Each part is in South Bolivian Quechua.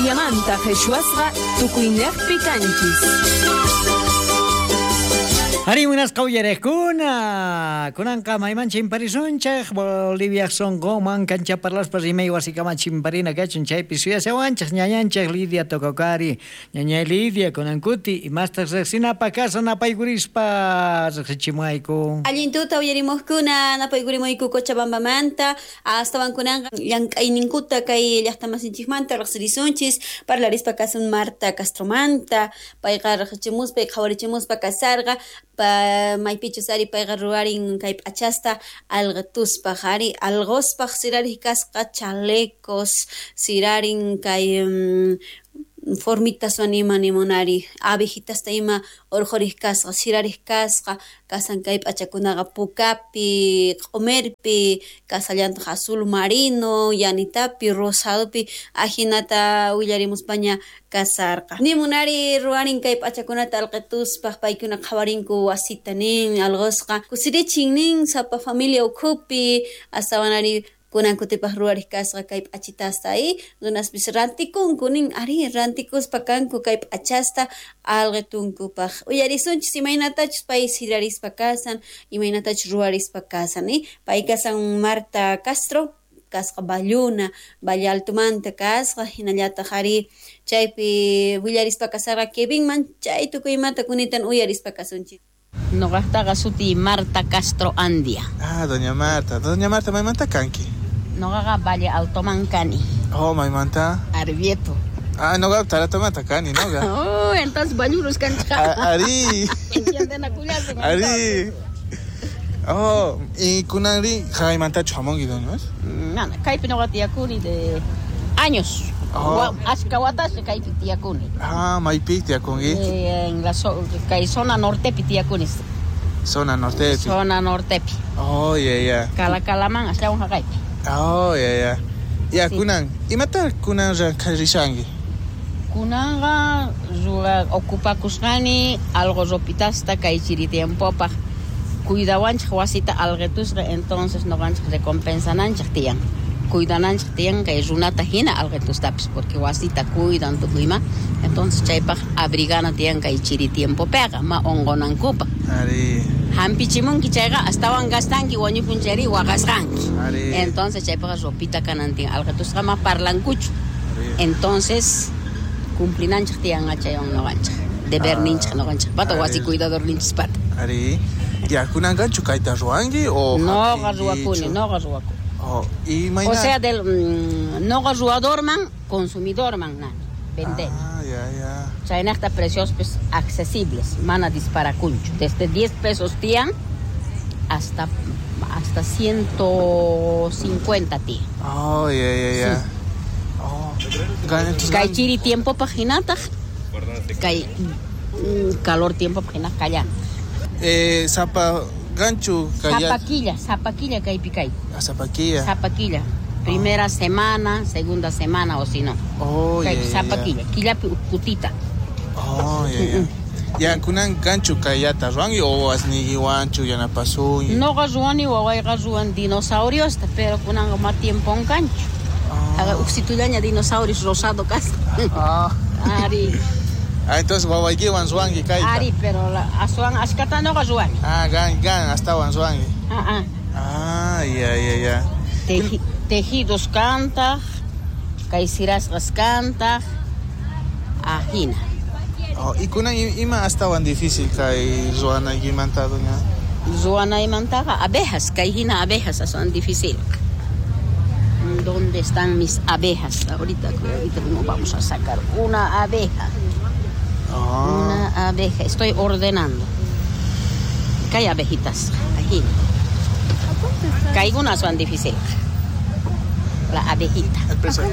Boliviamanta qheshwasqa tukuynejpi kanchis. Ari munasqa uyariqkuna, kunanqa mayman chimparisunchik, Boliviaj sonqonman kancha parlaspa rimay wasikama chimparina kachun, chaypi suyashawanchik ñañanchik Lidia Tococari. Ñañay Lidia, kunan kuti, imastaq riqsinapaq kasan napaykurispa riqsichimuwayku. Allin tuta uyarimuqkuna, napaykurimuyku Cochabambamanta, astawan kunanqa llank'ayninkuta kay llaqtamasinchikmanta riqsirisunchis, parlarispa kasun Marta Castromanta, payqa riqsichimuspa qhawarichimuspa kasarqa, maypichus ari payqa ruwarin kay p'achasta alqituspaq, ari alquspaq sirariq kasqa chalecos, sirarin kay formitaswan ima nimunari, abejitasta ima urqhuriq kasqa, sirariq kasqa, kasan kay p'achakunaqa pukapi, q'umirpi, kasallantaq azul marino, yanitapi, rosadopi, ajinata willarimuspaña kasarqa. Nimunari ruwarin kay p'achakunata alqituspaq, paykuna qhawarinku wasita nin, alqusqa kusirichin nin, sapa familia ukhupi, astawanari kunan kutipaq ruwariq kasqa kay p'achitasta y runaspis rantikunku nin, ari rantikuspa kanku kay p'achasta alqitunkupaq. Uyarisunchis imaynatachus pay sirarispa kasan, imaynatachus ruwarispa kasan, pay kasan Marta Castro, kasqa Valluna, Valle Altomanta kasqa, hinallataq ari chaypi willarispa kasarqa Kevinman, chay tukuymanta kunitan uyarispa kasunchis. Noqaqtaqa suti Marta Castro Andia. Ah, doña Marta. Doña Marta, maymanta kanki? Noqaqa Valle Altoman kani. Oh, maymanta? Arbieto. Ah, noqa Taratomanta kani, noqa. Oh, entonces Vallurus kanchqa. Ari. Entiendenakullasun. Ari. Oh, y kunanri jaymantachu hamunki, doña Marta? Mana, kaypi noqa tiyakuni de años. Oh. Ashka watasqa kaypi tiyakuni. Ah, maypi tiyakunki? En la kay zona nortepi tiyakuni. Zona nortepi. Zona nortepi. Oh, yeah, yeah. Calacalaman astawan haqaypi. Oh, yeah, yeah. Ya, Sí. kunan, imata kunan rishanki? Kunanqa ruwa ocupakusqani algo ropitasta kay chiri tiempopaq. Cuidawanchik wasita alqitusqa, entonces noqanchik recompensananchik tiyan. Cuidananchik tiyan kay runata hina alqitustapis, porque wasita cuidan tukuyma. Entonces chaypaq abrigana tiyan kay chiri tiempopiqa, ma unqunankupaq. Ari. Hampichimunki chayqa astawan gastanki wañupun chayri waqasqanki. Ari. Entonces chaypaqqa ropita kanan tiyan, alqitusqa ma parlankuchu. Ari. Entonces cumplinanchik tiyan chaywan noqanchik. Deberninchik noqanchik pata, Ari. wasi cuidadorninchis pata. Ari. Ya, kunanqachu kayta ruwanki o Noqa hap'inkichu? ruwakuni, noqa ruwakuni. Oh, y mayna O sea, del, noqa ruwadorman, consumidorman nani, vender. Ah, ya, ya. Chaynaqta precios pues accesibles, mana disparakunchu. Desde 10 pesos tiyan hasta 150 tiyan. Oh, ya, ya, ya. Sí. Oh. Entonces, Kay chiri tiempo pajinataq, kay, calor tiempo pajinataq kallan. Zapa ganchu kaya. Zapaquilla, zapaquilla kaypi kay. Ah, zapaquilla. Zapaquilla. Primera semana, segunda semana o si no. Oh, Kay ya, ya, ya. zapaquilla, killapi ukkutita. Oh, ya, ya. Ya, kunan ganchu kayata ruwanki o asnigiwanchu yanapasunki? Noqa ruwani wawayqa ruwan dinosauriosta, pero kunanqa ma tiempon kanchu. Ah. Haga uksitullaña dinosaurios rosado kasqa. Ah. Ari. Ah, entonces wawaykiwan ruwanki kayta. Ari, pero la, aswan ashkata noqa ruwani. Ah, gan, gan, astawan ruwanki. Ah, ah. Ah, ya, ya, ya. Tejidos kantaq, kay sirasqas kantaq, ajina. Oh, y kunan ima astawan difícil kay ruwanaykimanta, doña? Ruwanaymantaqa abejas, kay hina abejas aswan difícil. ¿Dónde están mis abejas? Ahorita, ahorita mismo vamos a sacar una abeja. Ah. Una abeja. Estoy ordenando. Que hay abejitas. Aquí. Que algunas son difíciles. La abejita. El precio.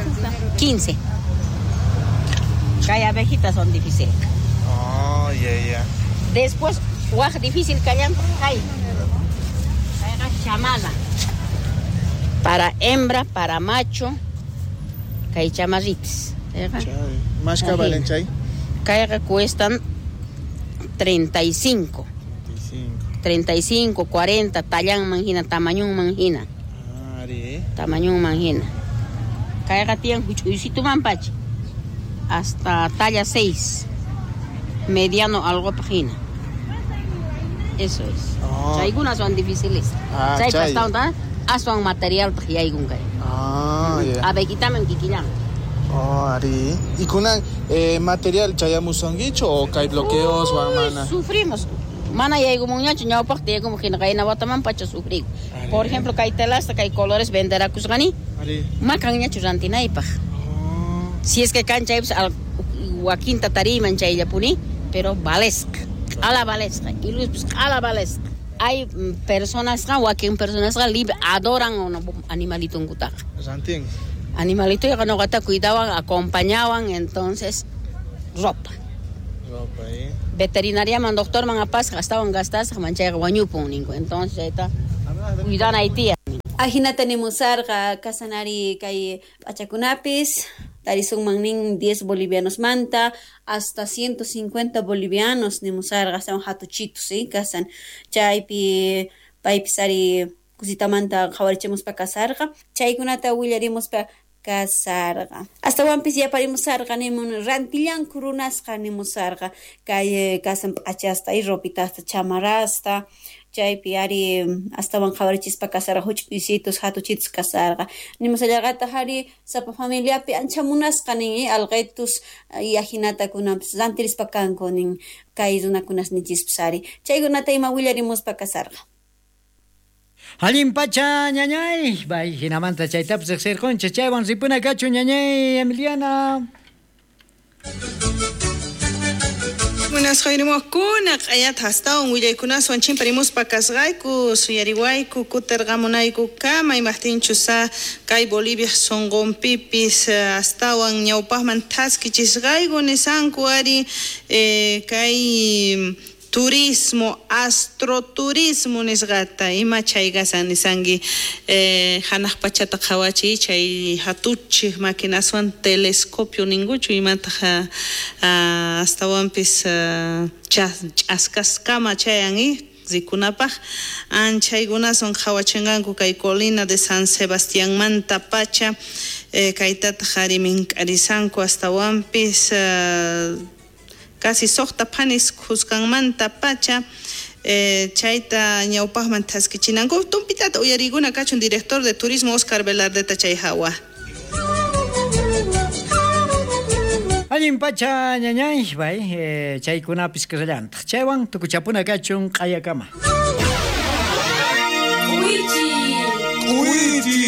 15. Que hay abejitas son difíciles. Oh, ya, ya. Después, guaj difícil callan. Hay. Chamala. Para hembra, para macho, que hay chamarritas. Chay. ¿Más que valen, chay? Caiga cuestan 35. 35. 35, 40, tallan manjina, tamañón manjina. Ari. Tamañón manjina. Caiga tian huchuycito mampachi. hasta talla 6. Mediano algo hina. Eso es. Oh. Chaykunas son difíciles. Ah, Chay chay. pastawan aswan material yaykun kay. Ah, ya. Abejitaman kikillan. Oh, ari. Y kunan material chayamusunkichu o kay bloqueos Uy, mana. Sufrimos. Mana yaykumunñachu ñawpaqta yaykumun hina qayna wataman pacha sufriku. Por ejemplo, kay telasta kay colores venderakusqani. Ari. Makanñachu rantinaypaq. Oh. Si es que kanchaypis al wakinta tariyman chayllapuni, pero valesqa. Q'ala valesqa. Y luis q'ala valesqa. Hay personasqa, wakin personasqa libre adoran animalitunkutaqa. Rantin. Animalitoyqa nuqata cuidawan, acompañawan, entonces ropa. Ropa, eh. Veterinariaman doctorman apasqa astawan gastasqa manchayqa wañupun ninku. Entonces chayta cuidanay tiyan. Ajinata nimusarqa kasanari kay p'achakunapis tarisunman nin 10 bolivianos manta hasta 150 bolivianos nimusarqa astawan hatuchitus kasan chaypi paypis ari kusitamanta qhawarichimuspa kasarqa chaykunata willarimuspa kasarqa astawanpis yaparimusarqa nimun rantillanku runasqa nimusarqa kay kasan p'achasta y ropitasta chamarrasta chaypi ari astawan qhawarichispa kasarqa huch'uysitus hatuchitus kasarqa nimusallarqataq ari sapa familiapi ancha munasqa nin alqitus y ajinata kunanpis rantirispa kanku nin kay runakunas nichispis ari chaykunata ima willarimuspa kasarqa. Allin pacha ñañay, bay hinamanta chaytapis riqsirqunchik chaywan ripuna kachu ñañay Emiliana. Buenas jayrimuqkuna q'ayata astawan willaykunaswan chimparimuspa kasqayku suyariwayku kutirqamunayku kama imaqtinchus kay Bolivia sunqunpipis astawan ñawpaqman thaskichisqayku nisanku ari kay turismo, astroturismo nisqata ima chay kasan nisanki hanaq pachata qhawachiy chay hatuchik maquinaswan telescopio ninkuchu imataq astawanpis ch'askaskama chayan rikunapaq anchaykunaswan qhawachinqanku kay colina de San Sebastianmanta pacha kaytataq ari mink'arisanku astawanpis casi suqta phanis khuskanmanta pacha chayta ñawpaqman thaskichinanku tumpitata uyarikuna kachun director de turismo Oscar Velardeta chay hawa. Allin pacha ñañay bay chaykunapis kasallantaq chaywan tukuchapuna kachun q'ayakama. K'uychi. K'uychi.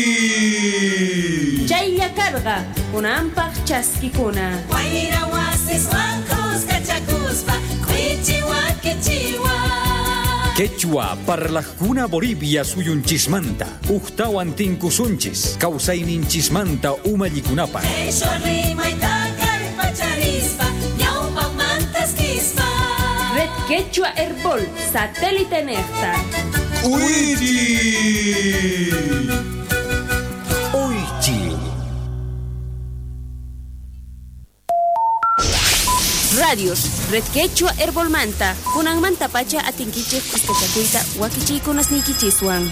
Chaylla karqa kunanpaq chaskikuna. Wayra wasiswan kuskachakuspa k'uychi wakichiwa. Quechua parlajkuna Bolivia suyunchismanta ujtawan tinkusunchis kawsayninchismanta umallikunapaq. Qhishwa rimayta kallpacharispa ñawpaqmantaskispa. Red Quechua Herbol satélite nejta. K'uychi. Uychi. Radios, Red Quechua Herbolmanta, kunanmanta pacha atinkichik kuskachakuyta wakichiykunasniykichiswan.